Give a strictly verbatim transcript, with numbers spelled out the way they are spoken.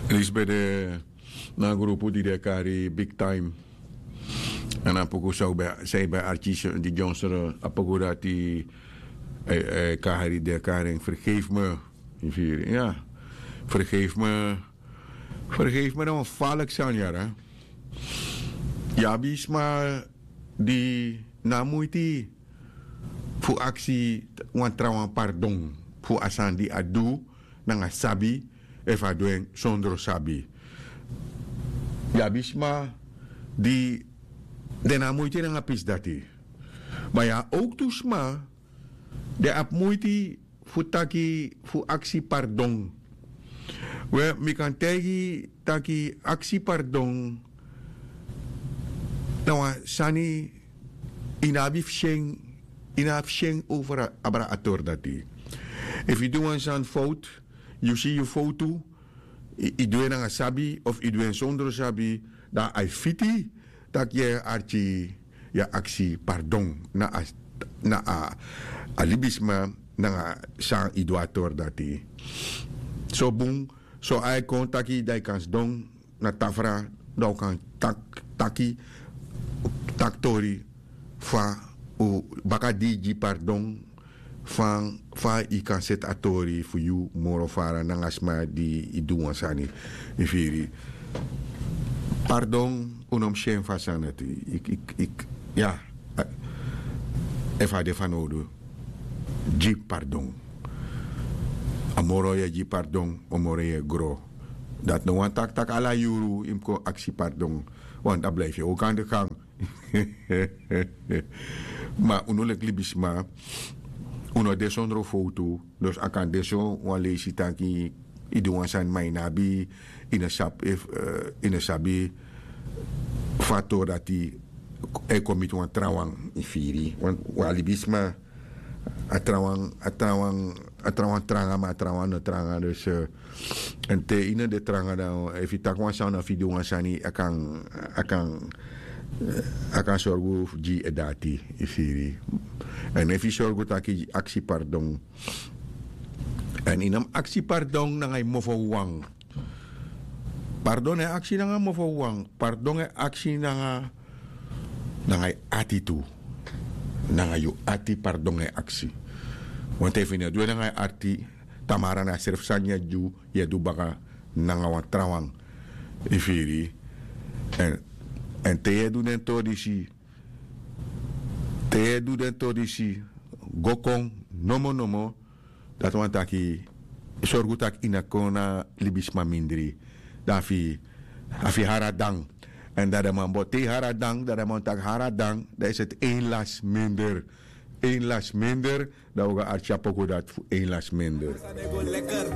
Lisbeth, na a grupu di den e kari Big Time. Èn a poku san yu ben, san yu ben artist di dyonsro, a poku dati, eh, eh, kari, den e kari en Vergeef Me. Yu firi, ya. Vergeef Me. Vergeef Me na wan faliki sani, yara. Yu abi sma di no abi muiti fu aksi wan trawan pardon fu a sani di a du nanga sabi, efu a du en sondro sabi. Yu abi sma di den no abi muiti nanga pisi dati. Ma yu abi owktu sma di abi muiti fu taki, fu aksi pardon. We, mi kan taigi taki aksi pardon na wan sani yu no abi fu syen, yu no abi fu syen over a, abra a tori dati. Efu yu du wan sani fowtu, yu si yu fowtu, yu, yu du en nanga sabi of yu du en sondro sabi, dan a e fiti taki yu e arki, yu e aksi pardon na a, na a, a libisma nanga san yu du a tori dati. So bun, so a e kon taki dan yu kan sidon na tafra, dan un kan tak, taki, taki tori fa un baka di yu gi pardon, fa, fa yu kan seti a tori fu yu moro fara nanga sma di yu du wan sani, yu firi. Pardon, un no mus syen fu a sani dati. Yu, yu, yu, ya, efu a de fanowdu, gi pardon. A moro yu e gi pardon, a moro yu e gro. Dati no wani taki taki ala yuru yu mus kon aksi pardon. Want a blijf yu ook aan de gang. Ma unu leki libisma, unu no de sondro fowtu. Dus a kan de so wan leisi taki yu du wan sani ma yu no abi, yu no sabi, eh, yu no sabi fa a tori dati e kon miti wan trawan, yu firi. Want wan libisma, a trawan, a trawan, a trawan tranga, ma a trawan no tranga. Dus, eh, èn te yu no de tranga, dan efu yu taki wan sani of yu du wan sani, a kan, a kan, eh, a kan sorgu gi yu e dati, yu firi. Èn efu yu sorgu taki yu aksi pardon, èn yu no mus aksi pardon nanga yu mofo wawan. Pardon e aksi nanga mofo wawan, pardon e aksi nanga, nanga yu ati tu. Nanga yu ati pardon e aksi. Want efu yu no du en nanga yu ati, tamara na a srefi sani yu e du, yu e du baka nanga wan trawan, yu firi. Èn, èn te yu e du den tori disi, te yu e du den tori disi go kon nomo nomo, dati wani taki, sorgu taki yu no kon na libisma mindri. Dan a fu, a fu hari a dan. Èn dan den man bo, te yu hari a dan, dan den man taki hari a dan, dan is het één last minder. Één last minder, dan un go arki a poku dati fu één last minder. Sani go lekker.